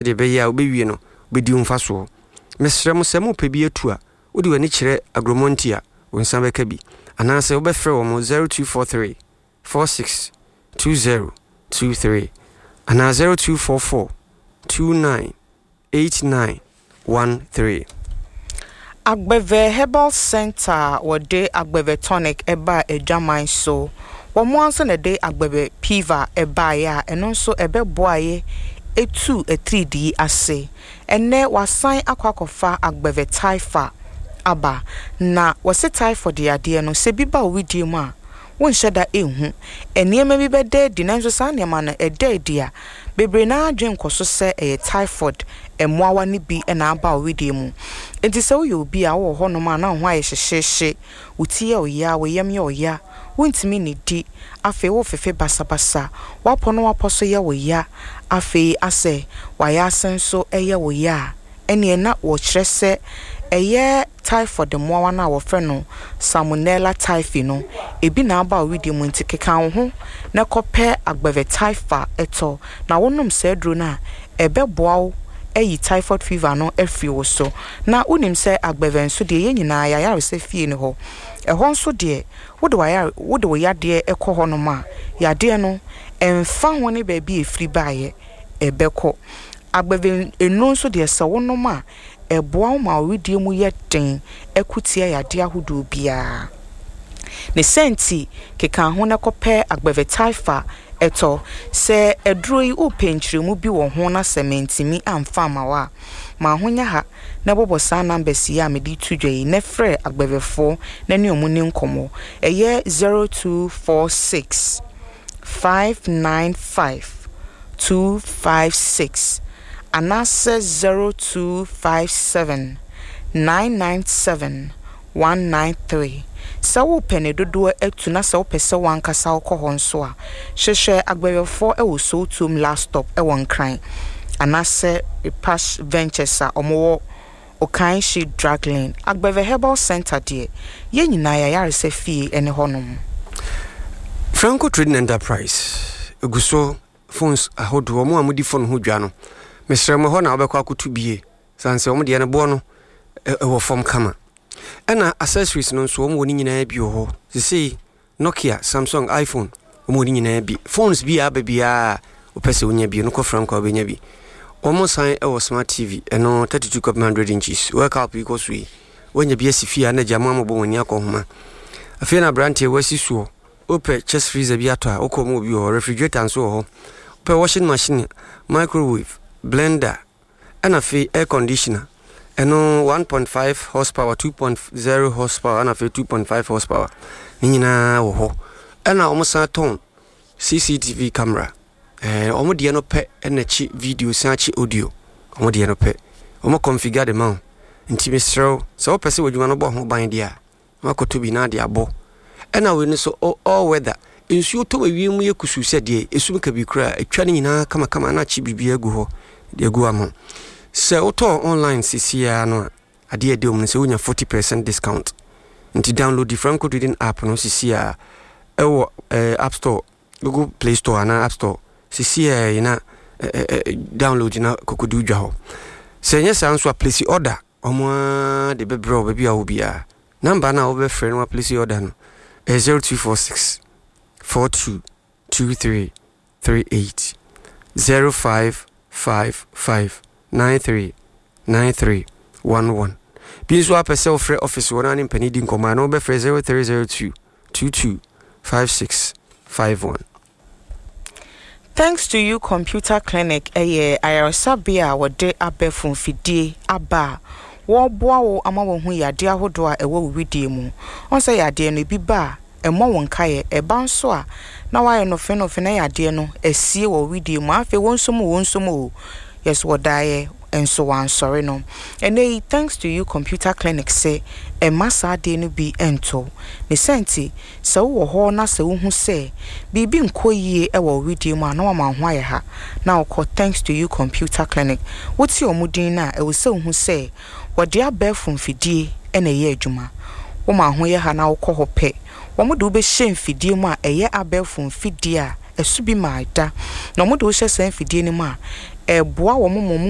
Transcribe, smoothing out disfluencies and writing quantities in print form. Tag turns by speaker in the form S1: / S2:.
S1: Sɛdeɛ ɛbɛyɛ a wobɛwie no, wobɛdi wo mfasoɔ. Mesrɛ mo, sɛ morepɛ bi atu a, wode w'ani kyerɛ Agromonti a, wo nsa bɛka bi. Anaasɛ wobɛfrɛ wɔn 0243 46 20 23 anaa 0244 29 89 13.
S2: Agbeve Herbal Centre a wɔde Agbeve Tonic baa adwaman so. Wɔn ara nso na ɛde Agbeve Piva baeɛ a ɛno nso ɛbɛboaeɛ tuu atiridii ase. Ɛnnɛ wɔasan akɔ akɔfa Agbeve Typha aba. Na wɔse typhoid yadeɛ no, sɛ bi ba wo wedeɛ mu a, wonhyɛ da nhu. Nneɛma bi bɛda adi, nanso saa nneɛma no, ɛda adi a, bebree no ara adwene kɔ so sɛ ɛyɛ typhoid mmoawa no bi na aba wo wedeɛ mu. Enti sɛ woyɛ obi a wowɔ hɔnom a na wo ho ayɛ hyehyeehye, wo ti yɛ wo ya, wo yam yɛ wo ya, wontumi nnidi, afei wofefe basabasa, w'apɔ ne w'apɔ so yɛ wo ya, afei asɛ w'ayaase nso yɛ wo ya a, ɛnneɛ na wɔkyerɛ sɛ ɛyɛ typhoid mmoawa no a wɔfrɛ no Salmonella typhi no, ebi na aba wo wedeɛ mu nti keka wo ho na kɔpɛ Agbeve Typha tɔ na wonom saa aduro no a, ɛbɛboa wo ayi typhoid fever no afiri wo so. Na wonim sɛ Agbeve nso deɛ yɛn nyinaa yɛn ayaresa fie ne hɔ. Ɛhɔ nso deɛ wode w'ayare wode wo yadeɛ kɔ hɔnom a, yadeɛ no ɛmfa ho ne baabi a ɛfiri baeɛ, ɛbɛkɔ. Agbeve nnuro nso deɛ sɛ wonom a, ɛboa wo ma wo wedeɛ mu yɛ den ko tia yadeɛ ahodoɔ biara. Ne saa nti, keka ho na kɔpɛ Agbeve Typha tɔ. Sɛ aduro yi wopɛ nkyerɛmu bi wɔ ho na sɛ mantumi amfa amma wo a, ma ho nyɛ ha na bɔbɔ saa numbers yi a mede reto dwa yi na frɛ Agbevefoɔ na ne wɔn nni nkɔmmɔ. Ɛyɛ 0246 595 256 anaasɛ 0257 997 193. Sɛ worepɛ ne dodoɔ atu na sɛ wopɛ sɛ wo ankasa wokɔ hɔ nso a, hwehwɛ Agbɛwɛfoɔ wɔ Sowutuom Last Stop wɔ Nkran anaasɛ Repash Ventures a wɔwɔ Okainshi Drug Lane. Agbɛvɛ Herbal Centre deɛ, yɛn nyinaa yɛn ayaresa fie ne hɔnom.
S1: Franco Trading Enterprise gu so phones ahodoɔ, wɔn a wɔdi phone ho dwa no, mesrɛ mo ɛhɔ na wobɛkɔ akɔto bie, sane sɛ wɔn deɛ no boɔ no ɛwɔ fam kama. Ɛna accessories no nso wɔn wɔ ne nyinaa bi wɔ hɔ. Sesei Nokia, Samsung, iPhone, wɔn wɔ ne nyinaa bi. Phones bi a aba biara a wopɛ sɛ wonya bi no kɔ Franco a wobɛnya bi. Wɔn san wɔ smart TV, ɛno 32 kɔpem 100 inches. World Cup yi kɔ so yi, woanya bi asi fie a na agya mo amobɔ wɔn ani akɔ nhoma. Afei na aberanteɛ wasi soɔ, wopɛ chest freezer bi atɔ a, wokɔ wɔn wɔ bi wɔ hɔ. Refrigerator nso wɔ hɔ. Wopɛ washing machine, microwave, blender, Ɛna afei air conditioner, ɛno 1.5 horsepower, 2.0 horsepower, ɛna afei 2.5 horsepower. Ne nyinaa wɔ hɔ. Ɛna wɔn san tɔn CCTV camera. Ɛɛ wɔn deɛ no pɛ ɛna kyi video san kyi audio. Wɔn deɛ no pɛ. Wɔn configure de ma wo. Nti mesrɛ wo, sɛ wopɛ sɛ w'adwuma no bɔ ho ban deɛ a, na wakɔtɔ bi na ade abɔ. Ɛna wei no nso all weather, nsuo tɔ ma wiem yɛ kusuu sɛ deɛ esum kabii koraa atwa ne nyinaa kamakama na akye biribiara agu hɔ de agu ama wo. Sɛ wotɔɔ online seesei ara no a, adeɛ a ɛda mu no sɛ wonya 40% discount. Nti download the Franco Trading app no seesei ara ɛwɔ eh, App Store, Google Play Store anaa App Store seesei ara yi na eh, eh, download na kɔkɔdi dwa hɔ. Sɛ ɛnyɛ saa nso a, place order. Wɔn ara de bɛbrɛ wo baabi a wowɔ biara. Number no a wobɛfrɛ na woaplesi order no ɛyɛ 0246 42 23 38, 0555 93 93 11. Bi nso apɛ sɛ wofrɛ office hɔ na ne mpanin di nkɔmmɔ a na wobɛfrɛ 0302 22 56 51.
S2: Thanks to You Computer Clinic yɛ ayaresabea a wɔde abɛɛfo mfidie aba a wɔreboa wo ama woahu yadeɛ ahodoɔ a ɛwɔ wo wedeɛ mu. Woahu sɛ yadeɛ no, ebi ba a, ɛmmɔ wo nkaeɛ. Ɛba nso a, na woayɛ nofennofe na yadeɛ no asie wɔ wo wedeɛ mu. Afei wo nso mu, wo nso mu o, yɛ so wɔdaeɛ nso wɔansɔre no. Ɛnnɛ yi, Thanks to You Computer Clinic se mma saa adeɛ no bi nto wo. Ne saa nti, Sɛ wowɔ hɔ na sɛ wuhu sɛ biribi nkɔ yie wɔ wo wedeɛ mu a, na wama wo ho ayɛ ha na wokɔ Thanks to You Computer Clinic. Wote wɔn din no a, ɛwɔ sɛ wohu sɛ wɔde abɛɛfo mfidie na ɛyɛ adwuma. Woma wo ho yɛ ha na wokɔ hɔ pɛ, wɔde wo bɛhyɛ mfidie mu a ɛyɛ abɛɛfo mfidie a ɛso bi mmaa da. Na wɔde wo hyɛ saa mfidie no mu a, ɛboa wɔn ma wɔn.